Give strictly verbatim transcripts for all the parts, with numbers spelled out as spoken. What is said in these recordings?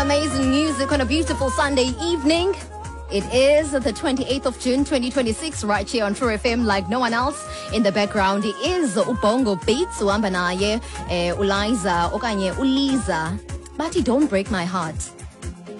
Amazing music on a beautiful Sunday evening. It is the twenty-eighth of June twenty twenty-six, right here on True F M like no one else. In the background is uBongo Beats, uhamba naye eh uLiza okanye uLiza. Bathi "Don't Break My Heart".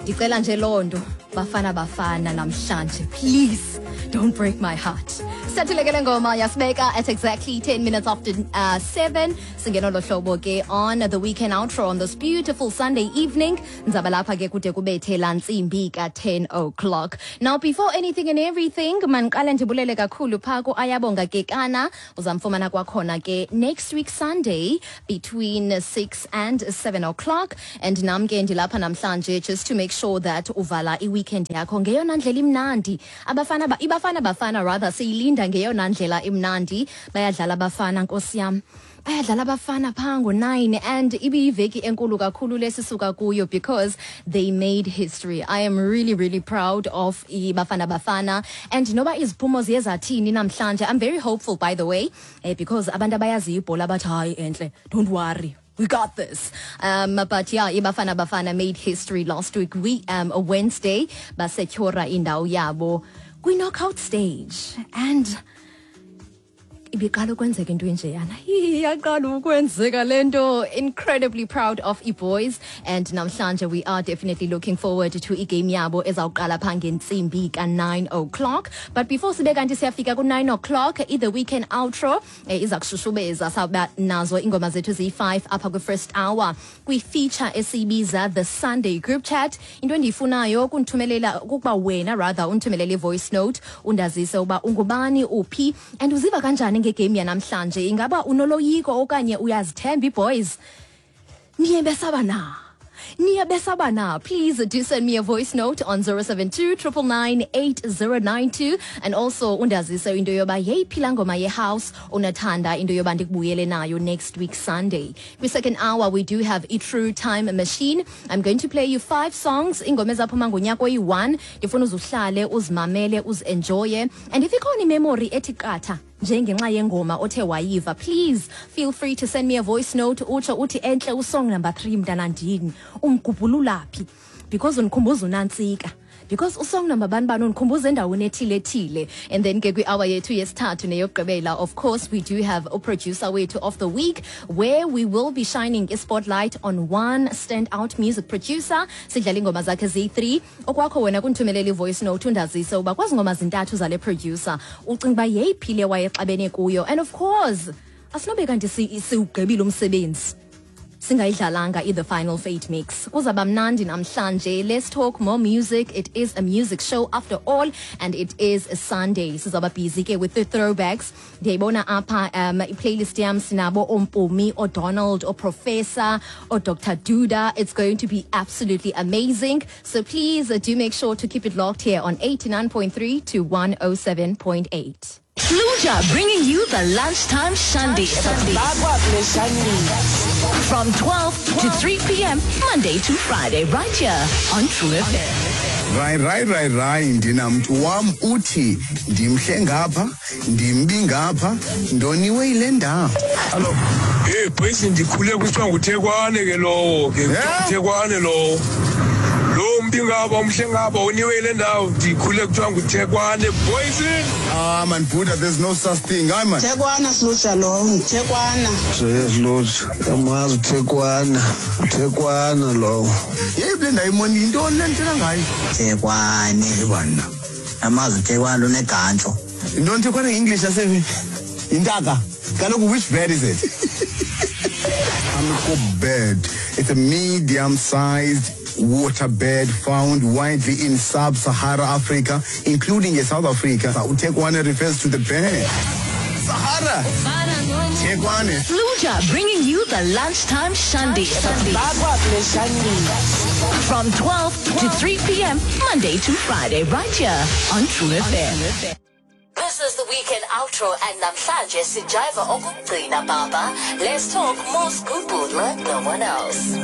Ndicela nje loo nto, Bafana Bafana, namhlanje, please don't break my heart. Sathuleke le ngoma yasibeka at exactly ten minutes after uh, seven. Singena lo hlobo ke on the weekend outro on this beautiful Sunday evening. Nzaba lapha ke kude kubethe la ntsimbi ka ten o'clock. Now, before anything and everything, mandiqale ndibulele kakhulu phaa ku-Ayabonga Kekana. Uzamfumana kwakhona ke next week Sunday between six and seven o'clock, and nam ke ndilapha namhlanje just to make sure that uvala i-weekend yakho ngeyona ndlela imnandi. Abafana ba, iBafana Bafana rather, siyilinda ngeyona ndlela imnandi. Bayadlala abafana, nkosi yam, bayadlala abafana phaa ngo-nine, and ibiyiveki enkulu kakhulu lesisuka kuyo because they made history. I am really, really proud of iBafana Bafana, and noba iziphumo ziye zathini namhlanje, I'm very hopeful, by the way, eh, because abantu abayaziyo ibhola bathi, "Hayi entle, don't worry, we got this." Um, but yeah, iBafana Bafana made history last week. We um Wednesday basetyhora indawo yabo kwi-knockout stage, and ibiqala ukwenzeka into enjeyana, iyaqala ukwenzeka le nto. Incredibly proud of i-boys, and namhlanje we are definitely looking forward to igame yabo ezawuqala phaa ngentsimbi ka-nine o'clock. But before sibe kanti siyafika ku-nine o'clock, i-the weekend outro eh, iza kushushubeza. Sawuba nazo iingoma zethu ziyi-five apha kwi-first hour kwi-feature esiyibiza the Sunday group chat. Into endiyifunayo kundithumelela kukuba wena, rather undithumelele i-voice note, undazise uba ungubani, uphi and uziva kanjani ngegame yanamhlanje. Ingaba unoloyiko okanye uyazithemba ii-boys? Niye besaba na? Niya besaba na? Please do send me a voice note on zero seven two nine nine nine eight zero nine two, and also undazise into yoba yeyiphi laa ngoma ye-house unathanda into yoba ndikubuyele nayo next week Sunday. Kwi-second hour we do have i-True Time Machine. I'm going to play you five songs, iingoma ezaphuma ngonyaka oyi-one. Ndifuna uzuhlale uzimamele, uzi-enjoye, and if ikhona imemory ethi qatha njengenxa yengoma othe wayiva, please feel free to send me a voice note, utsho uthi, "Entle, usong number three mntanandini umgubhulula phi because undikhumbuza unantsika, because usong number bani bani undikhumbuza endaweni ethile ethile." And then ke kwi-hour yethu yesithathu neyokugqibela, of course, we do have uproducer wethu of the week, where we will be shining a spotlight on one standout music producer. Sidlala iingoma zakhe ziyi-three. Okwakho wena kundithumelela i-voice note, undazise uba kwezi ngoma zintathu zale producer ucinga uba yeyiphi le wayexabene kuyo. And of course, asinobe kanti si- siwugqibile umsebenzi singayidlalanga i-the final fate mix. Kuzaba mnandi namhlanje. Let's talk more music. It is a music show after all, and it is a Sunday. Sizaba busy ke with the throwbacks. Ndiyayibona apha um i-playlist yam, sinabo oMpumi, oDonald, oProfessor, oDr Duda. It's going to be absolutely amazing, so please uh, do make sure to keep it locked here on eighty-nine point three to one oh seven point eight. Fluja bringing you the lunchtime shandy from twelve to three p m. Monday to Friday, right here on True F M. Right right right right ndinamntu wam uthi ndimhle ngapha, ndimbi ngapha, ndoniwe yile ndawo. Hallo. Hey boys, ndikhule kuthiwa nguthekwane ke lowo ke. Yeah. Nguthekwane lowo. Lo mbi ngapha, umhle ngapha, uniwe ile ndawo, ndikhule kuthiwa nguthekwane, boys. Ah man, Buddha, there's no such thing. Hayi man. Thekwana Sluja lowo, nguthekwana. Yes, amazi uthekwana, uthekwana lowo. Yeyiphi le ndawo imoni? Yintoni le ndithetha ngayo? Thekwane. Bana. Amazi uthekwane unegantsho. Yintoni thekwane nge-English? Yase intaka kaloku. Which bird is it? Hamerkop bird. It's a medium-sized water bird found widely in sub-Sahara Africa, including in South Africa. Uthekwane refers to the bird. Sahara. Thekwane. Fluja bringing you the lunchtime shandy from twelve to three p m. Monday to Friday, right here on True F M. This is the weekend outro, and namhlanje sijiva okugcina baba. Let's talk more scoop like no one else.